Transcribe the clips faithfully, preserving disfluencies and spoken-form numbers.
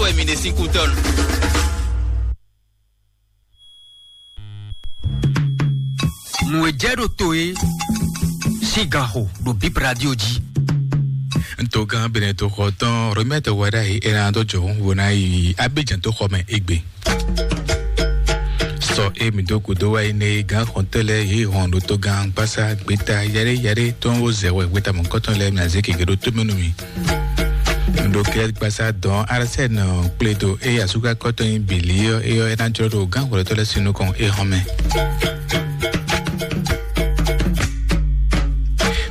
wɛ mi ɖe sín kútɔ́nu. Nǔ e jɛ ɖo to é sín ganxo ɖo Bip Radio jí. Ntogán Benɛto xɔ tɔn Romɛto Wadayi é ná dó jɔ hǔn ná yi Abidjan tó xɔ mɛ égbé. Sɔ e mǐ dó gǔdo wá yi nɛ gán xɔntɔ́ lɛ́ɛ yě hɔn ɖo togán gbásá gbeta yaɖé yaɖé tó ń wó zɛ wɛ gbeta mɔ̌kɔtɔn lɛ́ɛ mǐ azé keke ɖó tó mɛ nú mì. Ɖo kɛ́ gbasá dɔn Arsène kplé do eye asúkakɔtɔ nyi bǐlí ɔ́, é ɔ́ é ná jlɔ́ ɖo gán hwlɛ́tɔ́ lɛ́ɛ sín nukɔn é hɔn mɛ.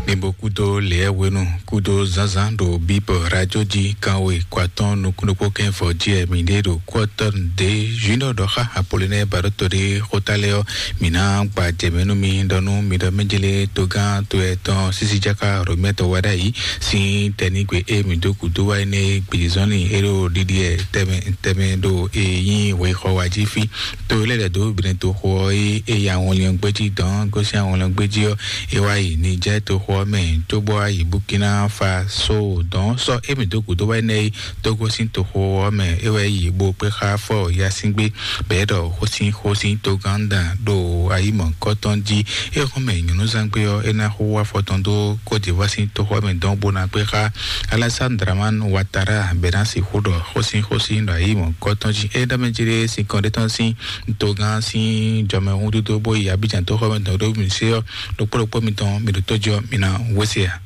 Mi bo kúdó lěɛ́wénu kúdó zánzán ɖo bíbɔ radio jí kanwe kó atɔ́ɔ́n nukúnnú kɛ́nfɔ jí wɛ mǐ ɖe ɖo kú ɔ́ tɔ́ nǔ dé Junior ɖɔ xá Apolinɛ́ɛ baɖótɔ ɖé xóta lɛ́ɛ ɔ́, mǐ ná gba jɛ mɛ nú mi ɖɔ nú mi ɖɔ mɛjlé togán to etɔn sísí jáká Romɛtɔ wɛ ɖ'ayǐ sín tɛnígbe e mǐ dó gǔdo wá énɛ́ gbězɔ́nlin e ɖo ɖiɖi ɛ tɛmɛ tɛmɛ ɖo e nyí wěxɔ wa jí fí. To lɛ́ lɛ̌ dó Benɛto xo ɔ́ é e yi awɔnlin ɔ́ gbéjí dɔn gosín awɔnlin ɔ́ gbéjí ɔ́, é wá yi Nijɛ́ɛ toxo ɔ́ mɛ cóbɔ wá yi Burkina Faso dɔn sɔ́ émí dó gǔdo wá énɛ́ é Togo sín toxo ɔ́ mɛ é wɛ yi bó kpé xá fɔ yasíngbe bɛ̌ ɖɔ xósín xósín togánda ɖo ayǐ mɔ̌kɔtɔn jí. É xɔ́n mɛ nyɔ̌núzangbe ɔ́, é ná xo wá fɔ tɔn dó Côte d'Ivoire sín toxo ɔ́ mɛ dɔn bó ná kpé xá Alassane Dramane Ouattara bɛ̌ ná sixú ɖɔ xósín xósín ɖo ayǐ mɔ̌kɔtɔn jí. É ɖɔ mɛ jí ɖé sin kɔn ɖé tɔn sín togán sín jɔmɛhúndúdó bó yi Abidjan tó xɔ mɛ dɔn ɖó mi sé ɔ́, ɖokpó ɖokpó mitɔn mi ɖo tó jí ɔ́, mi ná wé se a?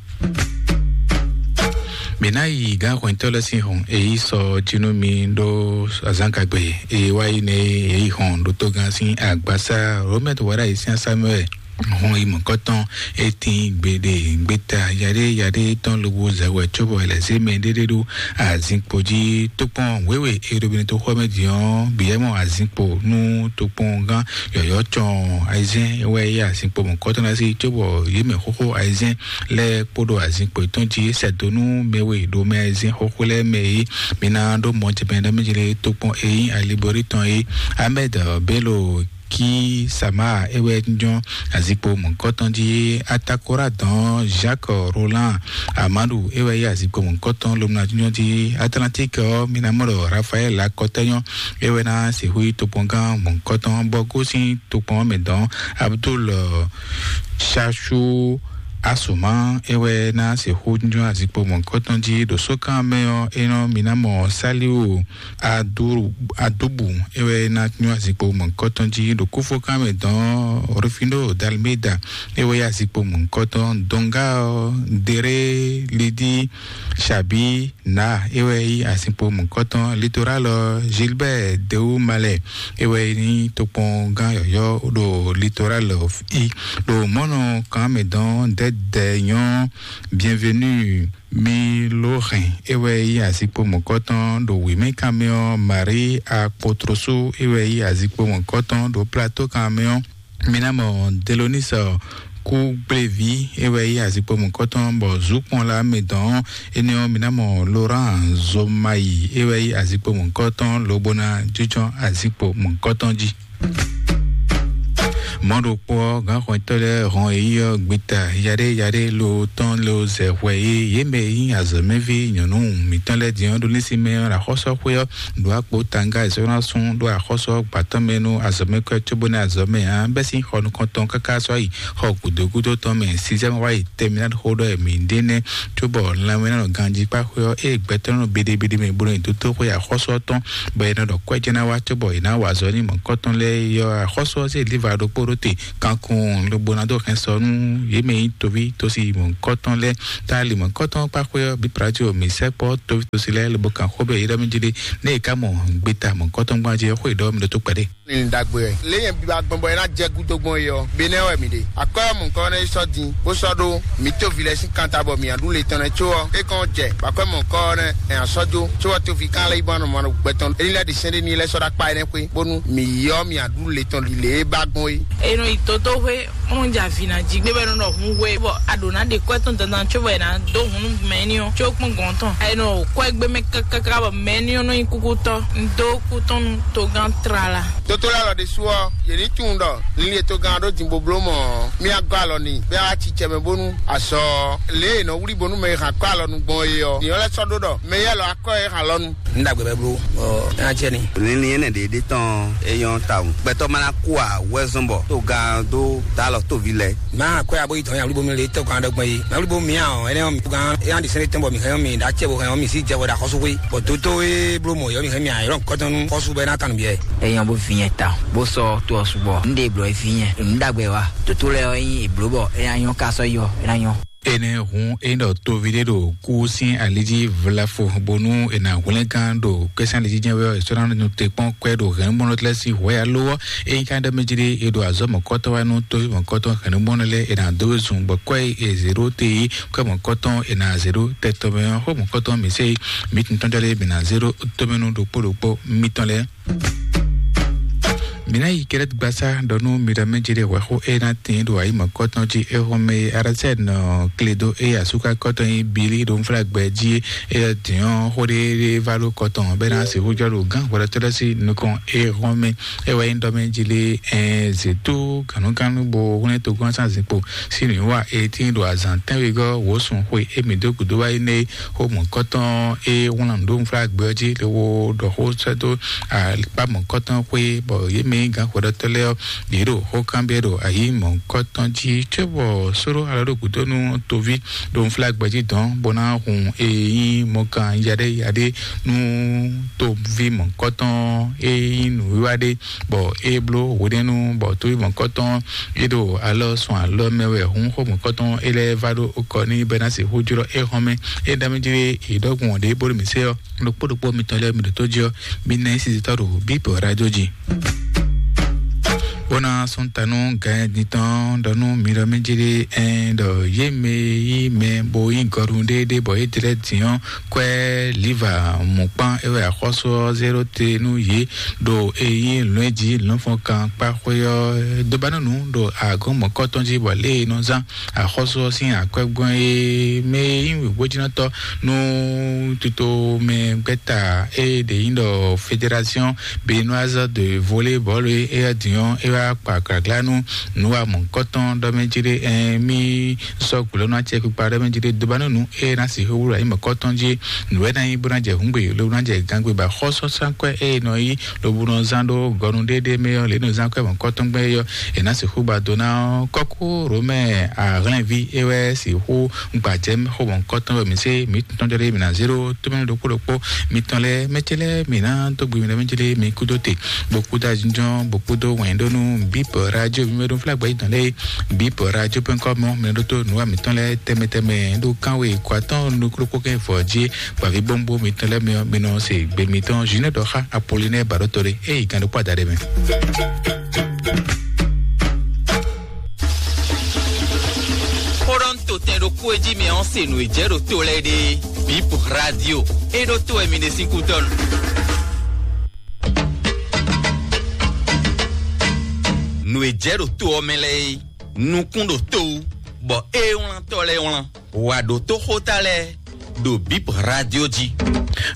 Mi ná yi gǎn hwɛntɔ́ lɛ́ɛ sín hɔn e yí sɔ jí nú mi ɖó azǎngagbe e wá yi nɛ e yí hɔn ɖo togán sín agbasa Romɛt Wara yi sín asámɛ wɛ hɔn yi mɔ̌kɔtɔn. E tín gbeɖe gbeta yaɖé yaɖé tɔn lobo zɛ wɛ cóbɔ è lɛ̌ zé mɛ ɖéɖé ɖó azinkpo jí. Tokpɔn wěwe e ɖo Benɛto xɔ mɛ din ɔ́, bǐ yɛ mɔ azinkpo nú tokpɔngán yɔ̌yɔ́ cɔn ayizɛ́n wɛ yí azinkpo mɔ̌kɔtɔn ná sí, cóbɔ yě mɛ xóxó ayizɛ́n lɛ́ɛ kpódó azinkpo yětɔn jí sɛdó nú mɛ we ɖo mɛ ayizɛ́n xóxó lɛ́ɛ mɛ é. Mi ná ɖó mɔ ce mɛ ɖɔ mɛ jlé tokpɔn e nyí alibori tɔn é. Ahmed Bello Ki Sama é wɛ jínjɔ́n azikpo mɔ̌kɔtɔn jí. Atakora dɔn Jacques Roland Amadou é wɛ yí azikpo mɔ̌kɔtɔn lomuna jínjɔ́n jí. Atlantique ɔ́, mi ná mɔ ɖɔ Raphaël Akɔtɛnyɔ é wɛ ná sixú yí tokpɔngán mɔ̌kɔtɔn bɔ gosín tokpɔn ɔ́ mɛ dɔn. Abdul Chachou Asuma é wɛ ná sixú jínjɔ́n azikpo mɔ̌kɔtɔn jí. Ɖo sókan mɛ ɔ́, é nɔ mi ná mɔ Saliu Adu- Adubu é wɛ ná nyɔ́ azikpo mɔ̌kɔtɔn jí. Ɖo kúfókan mɛ dɔn Rufino Dalmeda é wɛ yí azikpo mɔ̌kɔtɔn. Donga ɔ́, Dere Lidi Xabi na é wɛ yí azikpo mɔ̌kɔtɔn. Litoral ɔ́, Gilbert Dewu Malɛ é wɛ nyí tokpɔngán yɔ̌yɔ́ ɖo Litoral ɔ́ í. Ɖo mɔ̌nɔ kan mɛ dɔn Dɛdɛ nyɔ́ Bienvenu Milorɛn é wɛ yí azikpo mɔ̌kɔtɔn. Ɖo wěmɛkanmɛ ɔ́, Marie Akpotroso é wɛ yí azikpo mɔ̌kɔtɔn. Ɖo plateau kanmɛ ɔ́, mi ná mɔ Delonis Kúgbléví é wɛ yí azikpo mɔ̌kɔtɔn, bɔ zǔkpɔ́nla mɛ dɔn énɛ́ ɔ́, mi ná mɔ Laurent Zomayi é wɛ yí azikpo mɔ̌kɔtɔn lobo ná jínjɔ́n azikpo mɔ̌kɔtɔn jí. Mɔ̌ ɖokpó ɔ́, gǎnxɔtɔ́ lɛ́ɛ hɔn eyí ɔ́ gbeta yaɖé yaɖé lo tɔn lo zɛ hwɛ e yě mɛ e nyí azɔ̌mɛví nyɔ̌nu mǐtɔn lɛ́ɛ din ɔ́ ɖo lɛ́nsin mɛ ɔ́ ɖo axɔ́sɔ́xwé ɔ́ ɖo akpo tanga e sɔ́ ná sún ɖó axɔ́sɔ́ gbǎtɔ́ mɛ nú azɔ̌mɛkwɛ́ cóbó nɛ́ azɔ̌mɛ ǎ bɛ́ sín xɔ nukɔntɔn káká sɔ́ yi xɔ gǔdo gúdo tɔn mɛ. Sixième wá yi terminale xó ɖɔ mǐ ɖe nɛ́, cóbɔ lanmɛ ná nɔ ganjí kpá xwé ɔ́, ée gbɛtɔ́ nɔ beɖebeɖe mɛ bó nɔ nyi dótóxwé axɔ́sú ɔ́ tɔn, bɔ è nɔ ɖɔ kwɛ́ jɛ́n ná wá cóbɔ è nǎ wa azɔ̌ nú mɔ̌kɔtɔn lɛ́ɛ é ɔ́, axɔ́sú ɔ́ zé Liva ɖokpó ɖó te kankunnu lobo ná dó hɛn sɔ nú yě mɛ e nyí toví tosi mɔ̌kɔtɔn lɛ́ɛ. Ta ali mɔ̌kɔtɔn kpá xwé ɔ́ bǐ Plajio mǐ sɛkpɔ́ toví tosi lɛ́ɛ lobo kan xó bɔ yě ɖɔ mì jí ɖé, nɛ́ è ká mɔ gbeta mɔ̌kɔtɔn gbɔn jí ɔ́, xó è ɖɔ mi ɖó tó kpɛɖé. Ní dagbe ɛ lé yẹn biba gbɔn bɔ ena jɛ gudo gbɔn yi ɔ bene wɛ mi ɖe akɔyɔ mɔnkɔ ne sɔ din bó sɔ ɖó mi to vi lɛ sin kanta bɔ mi aɖu le tɔn ne tso ɔ e kɔn jɛ akɔyɔ mɔnkɔ ne ɛ asɔ jo tso ɔ to vi kan lɛ yi bɔ anɔ mɔ gbɛtɔn eni lɛ de sɛn de ni lɛ sɔ ɖo akpa ene kwe bonu mi yi ɔ mi aɖu le tɔn li le e ba gbɔn yi. Eno yi toto hwe Kɔn ja vǐ ná jí gbé bɔ é nɔ ɖɔ hun we bɔ a ɖǒ ná ɖe kwɛ́ tɔn dandan có bɔ è nǎ dó hun nú mɛ̌ni ɔ́ có kpɔ́n gɔ̌n tɔn. È nɔ kwɛ́ gbé mɛ káká bɔ mɛ̌ni ɔ́ nɔ nyí kúkú tɔn. Un dó kú tɔn nú togán tlala. Tótó lɛ́ɛ lɔ ɖésú ɔ́, yě ní tunwun ɖɔ linlin e togán ɔ́ ɖó din bó bló mɔ̌ ɔ́, mí á gɔ́ alɔ n'i, bɔ é wá ci cɛ mɛ bónú azɔ lě e è nɔ wlí bónú mɛ e hɛn akwɛ́ alɔnu gbɔn é ɔ́, nyɛ lɛ́ sɔ́ ɖó ɖɔ mɛ éyɛ́ lɔ akwɛ́ e hɛn alɔnu. Un ɖagbe bɛ bló, ɔ, é ná jɛ ni. Linlin énɛ́ ɖě ɖé tɔn é nyɔ́ tawun. Gbɛtɔ́ ma ná kú ǎ, wɛ́zɔ́n bɔ tó gán dó dǎ lɔ tóvi lɛ́ɛ. Má akwɛ́ abo yi dɔn ya wlí bo mi le tɔ́ gán ɖɔgbɔn yi. Má wlí bo mi ǎ ɔ́, énɛ́ ɔ́ mi gán é ná ɖi sɛ́n tɔn bɔ mi hɛn ɔ́ mi ɖó acɛ bo hɛn ɔ́ mi sí jɛ wɛ ɖo axɔ́sú xwé. Bɔ dótó e bló mɔ̌ yɔ mi hɛn mi ǎ, yɔ́ kɔ́tɔn nú xɔ́sú bɔ é ná kan nǔ biɛ. Èèyàn bó fi yẹn ta, bó sɔ́ tó ɔ́ su bɔ. Un ɖe blɔ̌ fi yẹn. Un ɖagbe wa. Dòtó lɛ́ɛ ɔ́ nyí èbló bɔ é ná nyɔ́ ká sɔ́ yɔ, é ná nyɔ́. Énɛ́ hun é ɖɔ tóvi ɖé ɖo kú sín ali jí vlafo bónú è nǎ hwlɛ́ngán ɖo kwɛ́sɛ́n ali jí jɛ́n wɛ ɔ́, è sɔ́ ná nɔ te kpɔ́n kwɛ́ ɖo hɛ̌nnumɔnɔ lɛ́ɛ sín hwɛ aló ɔ́, ényí ka ɖɔ mɛ jí ɖé, è ɖo azɔ̌ mɔ̌kɔtɔ́ wá nú tóví mɔ̌kɔtɔ́ hɛ̌nnumɔnɔ lɛ́ɛ è nǎ dó we zun bɔ kwɛ́ e è zě ɖó te é, kwɛ́ mɔ̌kɔtɔ́ è nǎ zě ɖó tɛtɔ́ mɛ ɔ́, xó mɔ̌kɔtɔ́ mǐ sɛ é, mǐ tɔn jɔ lɛ́ɛ mǐ ná zě ɖó tómɛnú ɖokpó ɖokpó mitɔn lɛ́ɛ. Mǐ ná yi Kɛlɛ́tgbasá ɖɔ nú mi ɖɔ mɛ jí ɖé hwɛxó e ná tín ɖo ayǐ mɔ̌kɔtɔn jí é xɔ́n mɛ e Arasɛ́ɛn nɔ kle dó é asúkakɔ́tɔn nyí Bili ɖo nflágbɛ jí é. Dǐn ɔ́, xó ɖé ɖé vá ɖó kɔ tɔn bɔ é ná sixú jɔ ɖo gǎn hwɛɖɔtɔ́ lɛ́ɛ sín nukɔn é xɔ́n mɛ. É wɛ nyí ɖɔ mɛ jí lé ɛn zětú gǎnúgánú bó hwlɛ́n togúnwásán zinkpo sín nǔwiwa e tíin ɖo azǎn tɛ́nwegɔ́ wǒsun xwe émí dó gǔdo wá yi nɛ́ xó mɔ̌kɔtɔn e wlán nǔɖó nflágbɛ ɔ́ jí lobo ɖɔ xó sɛ́ dó akpá mɔ̌kɔtɔn xwé, bɔ yě mɛ gǎn hwɛɖɔtɔ́ lɛ́ɛ ɔ́, yě ɖo xó kanbyɔ́ ɖo ayǐ mɔ̌kɔtɔn jí cóbɔ sóɖó alɔ ɖo gǔdo nú toví ɖo nflágbɛ jí dɔn bó ná hun e nyí mɔkan yaɖé yaɖé nú toví mɔ̌kɔtɔn e nyí nǔwiwa ɖé, bɔ é bló hwenɛ́nu bɔ toví mɔ̌kɔtɔn é ɖo alɔ sun alɔ mɛ wɛ hǔn xó mɔ̌kɔtɔn é lɛ́ɛ vá ɖó kɔ n'i bɔ é ná sixú jlɔ́ é hɔn mɛ. É ɖɔ mì jí é ɖɔ́gun ɖě bó ɖo mǐ se ɔ́, ɖokpó ɖokpó mitɔn lɛ́ɛ mi ɖo tó jí ɔ́, mi ná nyí sisitɔ́ ɖo bíp radio jí. Bó ná sún ta nú gǎn din tɔn ɖɔ nú mi ɖɔ mí jí ɖé ɛn ɖɔ yé mɛ yí mɛ bó nyí gɔɖun ɖééɖéé bɔ yě tlɛ din ɔ́, kwɛ́ liva mǔkpán é wɛ axɔ́sú ɔ́ zé ɖó te nú yě ɖo e nyí lɔ̌nji lɔ̌nfɔnkan kpá xwé ɔ́ dó ba nú nǔ ɖo agɔ̌n mɔ̌kɔtɔn jí bɔ lě e nɔ zán axɔ́sú ɔ́ sín akwɛ́gbɔ́n e mɛ e nyí wěgbójínɔtɔ́ nú tito mɛ gbɛ́ta e ɖě nyí ɖɔ fédération béninoise de volleyball e é din ɔ́ é wá kpa glagla nú nǔ wa mɔ̌kɔtɔn ɖɔ mɛ jí ɖé ɛn mí sɔ́ gblo nú acɛkpikpa ɖɔ mɛ jí ɖé dó ba nú nǔ e ná sixú wlú ayǐ mɔ̌kɔtɔn jí nǔ wɛ ná nyí bó ná jɛ hǔngbe lobo ná jɛ gangbe ba xɔ́sɔ́sánkwɛ́ e nɔ yí lobo nɔ zán ɖó gɔnu ɖéɖé mɛ ɔ́ lě nɔ zán kwɛ́ mɔ̌kɔtɔn gbɛ́ é ɔ́ è nǎ sixú ba dó ná ɔ́ kɔ́kú romɛ ahlɛ́nví é wɛ sixú gbajɛ xó mɔ̌kɔtɔn wɛ mǐ sé mǐ tɔn jɔ ɖé mǐ ná zé ɖó tómɛnú ɖokpó ɖokpó mitɔn lɛ́ɛ mɛtɛ́ lɛ́ɛ mǐ ná dó gbe mi lɛ́ɛ mɛtɛ́ lɛ́ɛ mi kúdó te bó kúdó ajínjɔ́n bó kúdó wɛ̌n ɖó nú bíp radio mi mɛ ɖó fúlágbá yí tɔn lɛ́ɛ bíp radio pɛ́n kɔ́ mɔ mɛ ɖó tó nǔ wa mǐtɔn lɛ́ɛ tɛmɛ tɛmɛ ɖó kánwe kó atɔ́n nukúɖokpó kɛ́n fɔ jí gbàví bóńbó mitɔn lɛ́ɛ mi mi nɔ se gbe mitɔn Junior Dɔxa Apollinaire Baɖótɔ́ɖé é yi gán ɖokpó adaɖé mɛ. Xó ɖɔ ń to tɛn ɖokpó e jí mi ɔ́ se nǔ e jɛ ɖo to lɛ́ɛ ɖe. Bip radio. É ɖó to wɛ mi ɖe sín kútɔ́nu. Nǔ e jɛ ɖo to ɔ́ mɛ lɛ́ɛ é, nukún ɖo to wú, bɔ é wlán tɔ́ lɛ́ɛ wlán. Wà ɖó tó xóta lɛ́ɛ ɖo bip radio jí.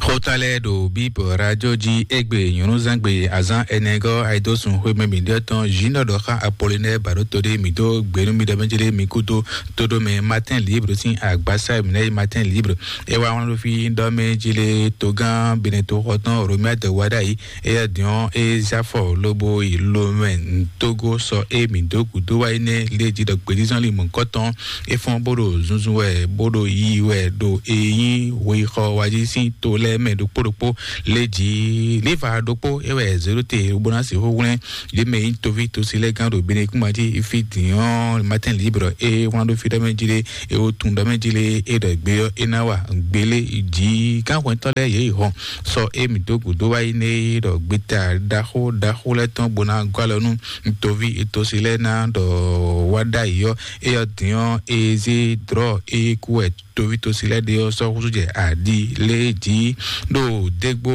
Xóta lɛ́ɛ ɖo bip radio jí égbé nyɔ̌núzangbe azán ɛnɛgɔ́ ayidósun xwémɛ mǐɖɔtɔn Junior Dɔxa Apollinaire Baɖótɔ́ɖé mǐ dó gběnú mi ɖɔ mɛ jí ɖé mi kúdó tóɖómɛ Matin Libre sín agbásá mǐ ná yi Matin Libre. É wá wlán ɖó fí ɖɔ mɛ jí lé togán Benɛto xɔtɔn Romuald Wadagni éyɛ́ din ɔ́ é zé afɔ lobo yi Lomɛ Togo sɔ é mǐ dó gǔdo wá énɛ́ lé jí ɖɔ gbědízɔ́n li mɔ̌kɔtɔn é fɔ́n bó ɖo zunzun wɛ bó ɖo yiyi wɛ ɖo e nyí hweyixɔ wá jí sín to lɛ́ɛ mɛ ɖokpó ɖokpó lé jí. Liva ɖokpó é wɛ zě ɖó te bó ná sixú hwlɛ́n yě mɛ nyí toví tosi lɛ́ɛ gán ɖo Benekúma jí fí din ɔ́ Matin Libre é wlán ɖó fí ɖɔ mɛ jí lé é wó tun ɖɔ mɛ jí lé é ɖɔ gbé ɔ́ é ná wa gbélé jí gánhwɛntɔ́ lɛ́ɛ yě yi hɔn sɔ émí dó gǔdo wá yi nɛ ɖɔ gbeta ɖaxó ɖaxó lɛ́ɛ tɔn bó ná gɔ́ alɔ nú toví tosi lɛ́ɛ ná ɖɔ wá ɖ'ayǐ ɔ́, éyɔ dǐn ɔ́, é zé drɔ̌ é kú wɛ toví tosi lɛ́ɛ ɖe ɔ́ sɔ́ húzú jɛ aɖi lé jí ɖo dégbó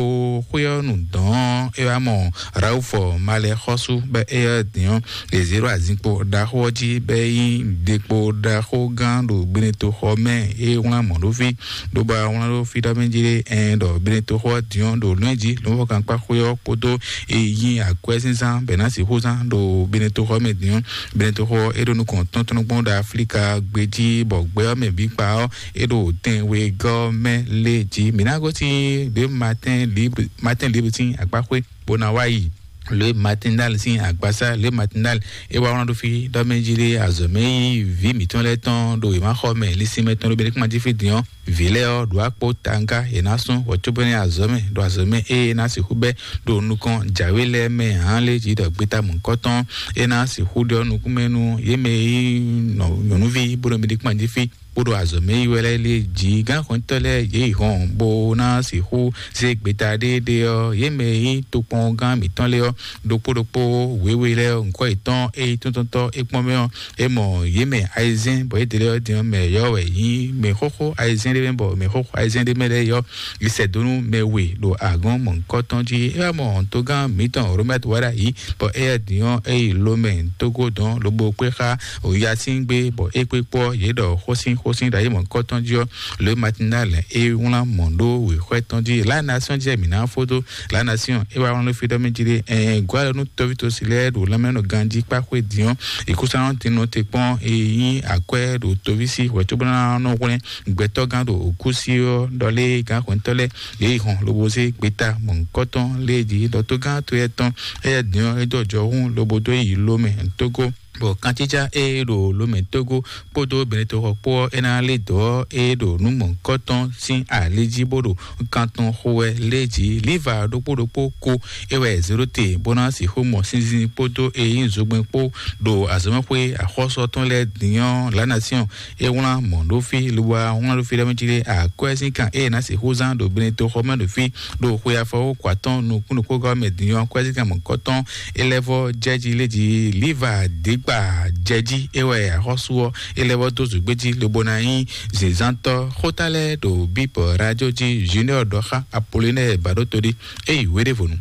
xwé ɔ́ nu dɔ̌n É wá mɔ Raufo Malɛxɔ́sú bɔ éyɛ́ din ɔ́, yě zé ɖo azinkpo ɖaxó ɔ́ jí bɔ é nyí ɖekpo ɖaxó gán ɖo gbenetoxɔ mɛ. É wlán mɔ̌ ɖó fí, ɖó bɔ wlán ɖó fí ɖɔ mɛ jí ɖé ɛn ɖɔ gbenetoxɔ ɔ́ din ɔ́ ɖo lɔ̌nyɛ jí lǒnfɔkankpá xwé ɔ́ kpódó é nyí akwɛ́zínzán bɔ è nǎ sixú zán ɖo gbenetoxɔ mɛ din ɔ́. Gbenetoxɔ ɔ́ é ɖo nukɔn tɔ́ntɔ́nɔgbɔn ɖo Aflíka gbé jí bɔ gbɛ ɔ́ mɛ bǐ kpa ɔ́ é ɖo tɛn wegɔ́ mɛ lé jí. Mǐ ná gosín ɖě Matin Libre, Matin Libre sín akpáxwé bó ná wá yi. Le Matinal sín agbasa, Le Matinal é wá wlán ɖó fí ɖɔ mɛ jí ɖé azɔ̌ mɛ yí vǐ mǐtɔn lɛ́ɛ tɔn ɖo wěmaxɔ mɛ lísínmɛ tɔn ɖo Benɛkúma jí fí din ɔ́. Vǐ lɛ́ɛ ɔ́ ɖo akpó tanga yě ná sún wɔ cóbɔ ní azɔ̌ mɛ ɖo azɔ̌ mɛ ée ná sixú bɛ́ ɖo nukɔn jǎwe lɛ́ɛ mɛ hǎn lé jí ɖɔ gbeta mɔ̌kɔtɔn é ná sixú ɖɔ nukún mɛ nú yě mɛ yí nyɔ̌nuví bó ɖo Benɛkúma jí fí kpódó azɔ̌ mɛ yi wɛ lɛ́ɛ lé jí gán xɔntɔ́ lɛ́ɛ yě yi hɔn bó ná sixú zé gbeta ɖéeɖé ɔ́. Yě mɛ yi tokpɔngán mǐtɔn lé ɔ́ ɖokpó ɖokpó wěwe lɛ́ɛ ɔ́, ŋkɔ́ yětɔn é yi tɔ́ntɔ́ntɔ́ é kpɔ́n mɛ ɔ́, é mɔ yě mɛ ayizɛ́n bɔ yě ɖe lɛ́ɛ ɔ́ din ɔ́ mɛ yɔ́ wɛ nyí mɛ xóxó ayizɛ́n ɖé mɛ bɔ mɛ xóxó ayizɛ́n ɖé mɛ lɛ́ɛ yɔ́ yi sɛ dó nú mɛ we ɖo agɔ̌n mɔ̌hunkɔtɔn jí. É wá mɔ togán mǐtɔn Robert Wada yí bɔ éyɛ́ din ɔ́ é yi Lomɛ Tógó dɔn lobo kpé xá Oyasin gbé bɔ é kpé kpɔ́ yě ɖɔ xósin xósin ɖo ayé mɔ̌hunkɔtɔn jí ɔ́. Le Matinal é wlán mɔ̌ ɖó wěxwɛ́ tɔn jí. La Nation jɛ mǐ ná fódó La Nation é wá wlán ɖó fí ɖɔ mɛ jí ɖé ɛn gɔ́ alɔ nú tɔ́ví tosi lɛ́ɛ ɖo lanmɛnɔ ganjí kpáxwé din ɔ́. Ìkúsánɔ tinú te kpɔ́n é nyí akwɛ́ ɖo toví sí hwɛ̌ cóbó ná nɔ hwlɛ́n gbɛtɔ́gán ɖo òkúsi ɔ́ ɖɔ lé gǎn xwɛ̌ntɔ́ lɛ́ɛ yě yi hɔn lobo zé gbeta mɔ̌hunkɔtɔn lé jí ɖɔ tógán to yɛ tɔn éyɛ́ din ɔ́ é dó ɔjɔhún lobo dó yi Lomɛ Tógó. Bɔ kantíjá e ɖo Lomɛ Tógó kpódó Benetoxɔ kpó ɔ́, é ná lé dɔ̌ e ɖo nǔ mɔ̌hunkɔtɔn sín ali jí bó ɖo kan tɔn xo wɛ lé jí. Liva ɖokpó ɖokpó ko é wɛ zéɖóte bó ná sixú mɔ sinzin kpódó e nyí zogbɛ́n kpó ɖo azɔ̌mɛxwé axɔ́sú tɔn lɛ́ɛ din ɔ́. La Nation é wlán mɔ̌ ɖó fí, lobo wá wlán ɖó fí ɖɔ mɛ jí ɖé akwɛ́ sín kan e ná sixú zán ɖo Benetoxɔ mɛ ɖo fí ɖo xwe afɔwú kɔ atɔn nukúnnukúngɔ́ mɛ din ɔ́, kwɛ́zíkan mɔ̌kɔtɔn é lɛ́ vɔ́ jɛ jí lé jí. Liva dǐgba jɛ jí é wɛ axɔ́sú ɔ́ é lɛ́ vɔ́ dó zǔgbé jí lobo ná nyí zǐnzántɔ́. Xóta lɛ́ɛ ɖo bíbɔ radio jí Junior ɖɔ xá Apollinaire Baɖótodí é yi wéɖévonu.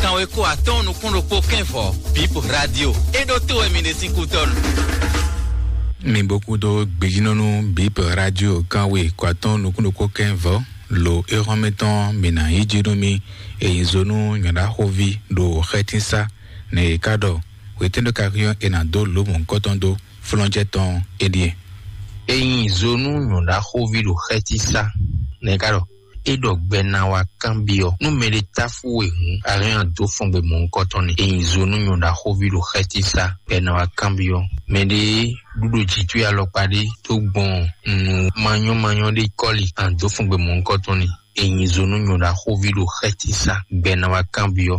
Kanweko atɔ́ɔ́n nukún ɖokpó kɛ́nvɔ Bip Radio é ɖó tó wɛ mi ɖe sín kútɔ́nu. Mi bó kúdó gbejínɔ́nú Bip Radio kanwe kɔ atɔ́ɔ́n nukún ɖokpó kɛ́nvɔ lo é xɔ́n mɛ tɔn mi nǎ yí jí nú mi. Èyí zó nú nyɔ̌ɖaxóví ɖo xɛtínsá nɛ è ká ɖɔ hwetɛ́nɖó ka hyɔ́n è nǎ dó lǒ mɔ̌hunkɔtɔn dó flɔ́njɛ́ tɔn é ɖíe. Èyí zó nú nyɔ̌ɖaxóví ɖo xɛtínsá nɛ è ká ɖɔ é ɖɔ gbɛ ná wá kanbyɔ́ nú mɛɖé táfú we hǔn, a hɛn a dǒ fɔngbe mɔ̌hunkɔtɔn ni. Èyí zo nú nyɔ̌ɖaxóví ɖo xɛtísá bɔ é ná wá kanbyɔ́ mɛɖé ɖúɖo jǐtwí alɔkpa ɖé tó gbɔn nǔ manyɔ́manyɔ́ ɖé kɔ́li, a dǒ fɔngbe mɔ̌hunkɔtɔn ni. Èyí zo nú nyɔ̌ɖaxóví ɖo xɛtísá bɔ é ná wá kanbyɔ́.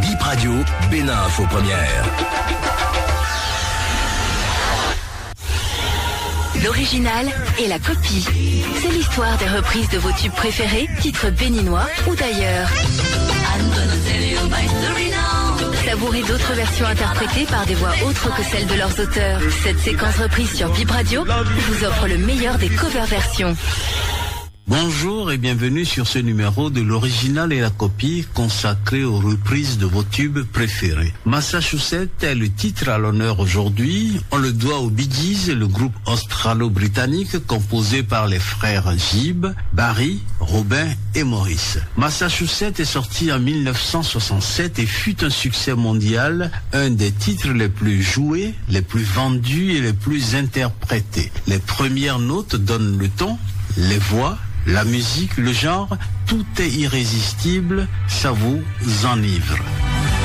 Bip Radio, Bénin Info Première. L'original et la copie. C'est l'histoire des reprises de vos tubes préférés, titres béninois ou d'ailleurs. Savourez d'autres versions interprétées par des voix autres que celles de leurs auteurs. Cette séquence reprise sur Bip Radio vous offre le meilleur des cover versions. Bonjour et bienvenue sur ce numéro de l'original et la copie consacré aux reprises de vos tubes préférés. Massachusetts est le titre à l'honneur aujourd'hui. On le doit aux Bee Gees, le groupe australo-britannique composé par les frères Gibb, Barry, Robin et Maurice. Massachusetts est sorti en mille neuf cent soixante-sept et fut un succès mondial, un des titres les plus joués, les plus vendus et les plus interprétés. Les premières notes donnent le ton, les voix, la musique, le genre, tout est irrésistible, ça vous enivre.